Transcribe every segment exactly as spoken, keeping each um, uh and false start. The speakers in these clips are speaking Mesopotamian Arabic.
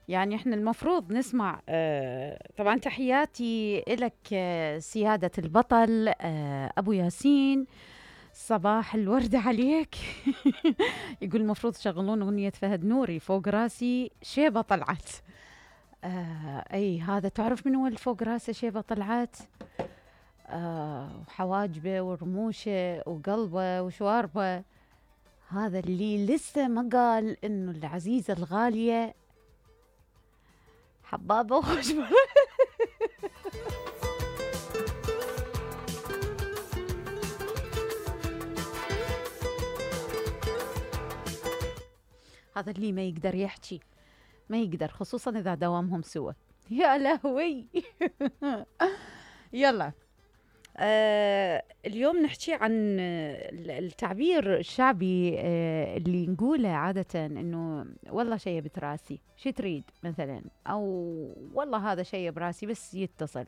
يعني احنا المفروض نسمع آه طبعا تحياتي إلك آه سيادة البطل آه أبو ياسين. صباح الورد عليك. يقول المفروض تشغلون أغنية فهد نوري فوق راسي شيبة طلعت. آه أي هذا تعرف من هو اللي فوق راسه شيبة طلعت؟ آه وحواجبه ورموشه وقلبه وشواربه. هذا اللي لسه ما قال إنه العزيزة الغالية حبابة وخشبة. هذا اللي ما يقدر يحكي، ما يقدر، خصوصا إذا دوامهم سوا. يا لهوي. يلا آه اليوم نحكي عن التعبير الشعبي آه اللي نقوله عادة إنه والله شيء بتراسي، شي تريد مثلا، أو والله هذا شيء براسي بس يتصل.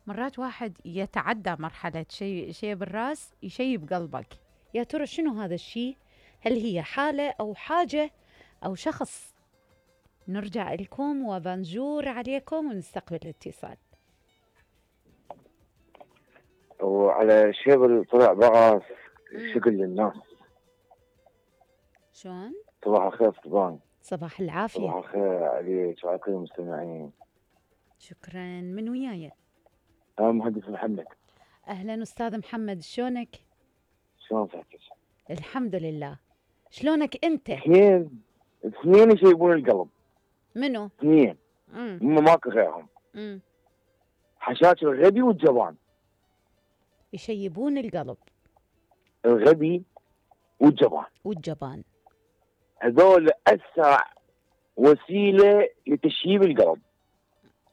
مرات واحد يتعدى مرحلة شيء شيء بالراس يشي بقلبك. يا ترى شنو هذا الشيء؟ هل هي حالة أو حاجة أو شخص؟ نرجع لكم وبنجور عليكم ونستقبل الاتصال. وعلى شيبل طلع بعض شكل للناس. شلون؟ صباح الخير طبعا. صباح العافية. صباح الخير عليك وعلى كل المستمعين. شكرا. من وياي؟ أنا مهندس محمد. أهلا أستاذ محمد، شلونك؟ شلون صحتك؟ الحمد لله. شلونك أنت؟ اثنين اثنين يشيبون القلب. منو؟ اثنين. امم هم ماكو غيرهم. امم حشاش الغبي والجبان. يشيبون القلب. الغبي والجبان. والجبان. هذول أسرع وسيلة لتشييب القلب.